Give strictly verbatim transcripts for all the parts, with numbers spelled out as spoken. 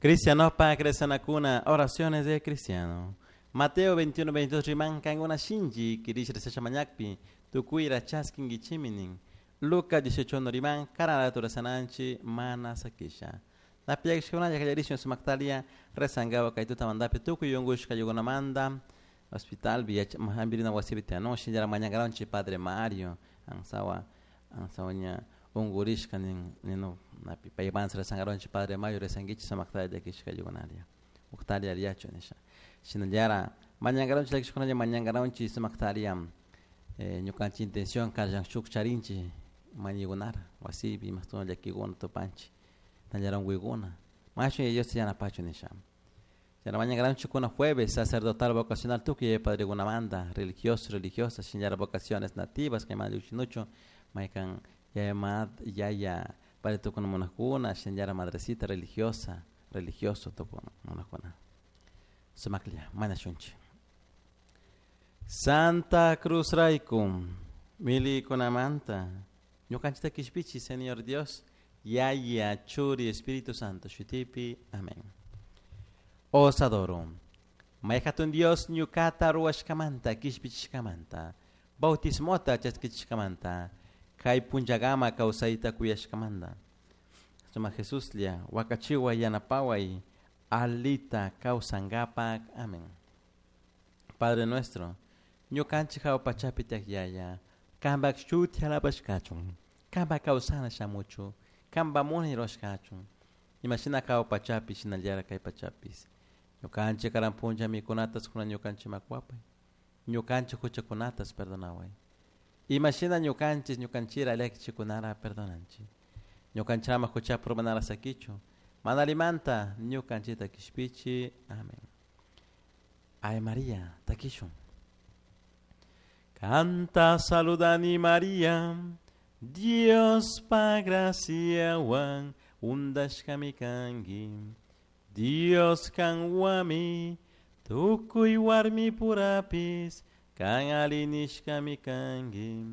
Cristiano pa cristianakuna, oraciones de cristiano. Mateo veintiuno veintidós riman kankuna shinchi kirish rezasha mañakpi tukuyra chaskinkichiminin. Lucas dieciocho uno riman karanatu rezananchi mana sakisha. Napiakishkunalla kallarishun sumaktalia rezangawa kay tutamantapi tukuy unkushka yukunamanta hospital hampirina wasipi tiyanun shinallara mañankaranchik Padre Mario ansawa ansawa ña unkurishka nin ninu napi paymantas rezankaranchik Padre Mario rezankichik sumaktalia llakishka yukunalia uktalla alliyachu nisha shinallara mañankaranchik llakishkunalla mañankaranchik sumaktalia ñukanchik intención kallan shuk charinchik mañaykunara wasipi imastuna llakikuna tupanchik nallara unkuykuna mashun Dios yanapachu nisha. Chayna mañankaranchik kuna jueves sacerdotal vocacional tukuy padrekunamanta religiosos religiosas shinallara vocaciones nativas kaymanta llukshinuchu maykan yaya yaya padre tukuna munakuna shinallara madrecita religiosa religioso tukuna munakuna sumaklla mañashunchik. Santa Cruz rayku milikunamanta ñukanchikta kishpichi Señor Dios Yaya Churi Espíritu Santo shutipi amén. Os adoro. Mayhatun Dios ñukata ruwashkamanta kishpichishkamanta bautismota chaskichishkamanta kay punllakama kawsayta kuyashkamanta suma Jesuslla wakachiway yanapaway alita kawsankapak amén. Padre nuestro ñukanchik hawa pachapi tiyak Yaya kanpak shuti alabashkachun kanpak kawsana shamuchu kanpak munay rurashkachun imashina hawa pachapi shinallara kay pachapis ñukanchik karan punlla mikunatas kuna ñukanchik makwapay ñukanchik huchakunatas perdonaway imashina ñukanchik ñukanchira llakichikunara perdonanchik ñukanchama huchapi urmanara sakichu mana allimanta ñukanchikta kishpichi amén. Ave María takishun. Canta saludani María Dios pa graciawan undashkami kanki Dios kanwami tukuy warmi purapis kan alinishkami kanki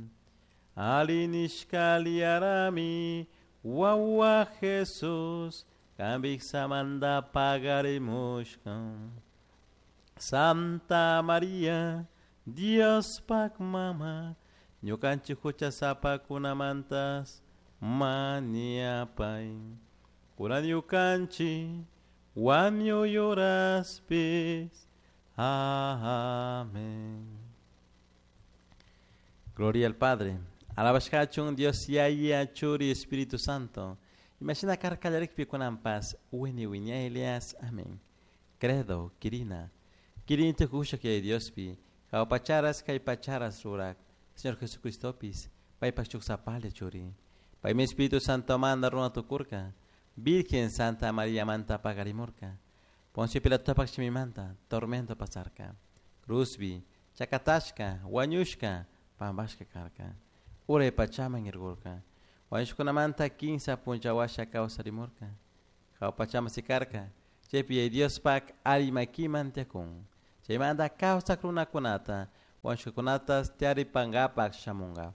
alinishka liarami wawa Jesús kanpiksamanta pagarimushka Santa María Dios pak mama ñukanchik huchasapakunamantas mañapay kunan ñukanchik wañuyuraspis amén. Gloria al Padre. Alabashkachun Dios Yaya Churi Espíritu Santo. Imagina karkallarikpi kunanpas wini wiñaylias amén. Credo kirina. Kirinti kushak yaya Diospi hawa pacharas kay pacharas rurak Señor Jesucristopis paypak chuksapalla churi. Paymi Espíritu Santo manda runa tukurka Virgen Santa María manta pagarimurka Poncio Pilatopak shimimanta tormento pasarka Cruzbi chakatashka wañushka pampashka karka uray pachaman irkurka wañushkunamanta kinsa punchawasha kawsarimurka hawa pachaman sikarka chaypi yaya Diospak alli makiman tiyakun chaymanta kawsak runakunata wañushkakunatas tiyaripankapak shamunka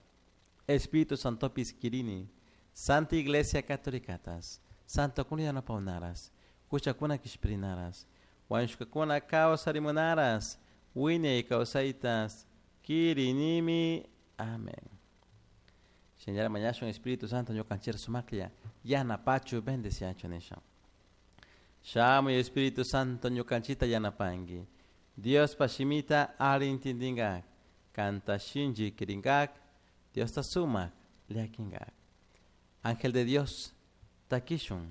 Espíritu Santopis kirini Santa Iglesia Católicatas Santokuna yanapawnaras huchakuna kishpirinaras wañushkakuna kawsarimunaras wiñay kawsaytas kirinimi amén. Shinallara mañashun Espíritu Santo ñukanchik sumaklla yanapachu bendeciachu nisha. Shamuy Espíritu Santo ñukanchikta yanapanki Diospa shimita alli intindinkak kanta shinchi kirinkak Diosta sumak llakinkak. Ángel de Dios takishun.